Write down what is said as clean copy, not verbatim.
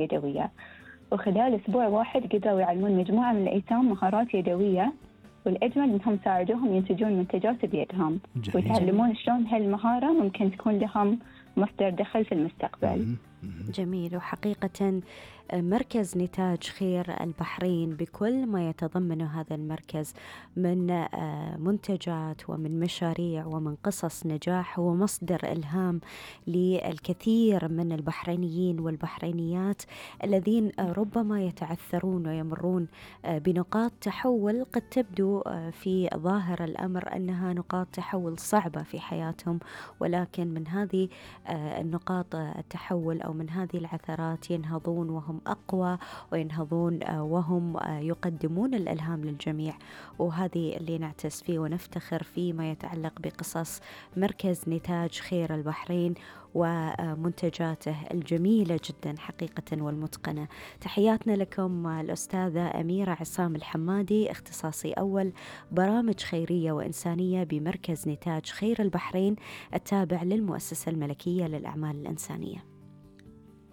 يدوية، وخلال أسبوع واحد قدروا يعلمون مجموعة من الأيتام مهارات يدوية، والأجمل إنهم ساعدوهم ينتجون منتجات بيدهم ويتعلمون شلون هالمهارة ممكن تكون لهم مصدر دخل في المستقبل. جميل. وحقيقة مركز نتاج خير البحرين بكل ما يتضمنه هذا المركز من منتجات ومن مشاريع ومن قصص نجاح، هو مصدر إلهام للكثير من البحرينيين والبحرينيات الذين ربما يتعثرون ويمرون بنقاط تحول قد تبدو في ظاهر الأمر أنها نقاط تحول صعبة في حياتهم، ولكن من هذه النقاط التحول أو من هذه العثرات ينهضون وهم أقوى، وينهضون وهم يقدمون الإلهام للجميع. وهذه اللي نعتز فيه ونفتخر فيه ما يتعلق بقصص مركز نتاج خير البحرين ومنتجاته الجميلة جدا حقيقة والمتقنة. تحياتنا لكم الأستاذة أميرة عصام الحمادي، اختصاصي أول برامج خيرية وإنسانية بمركز نتاج خير البحرين التابع للمؤسسة الملكية للأعمال الإنسانية.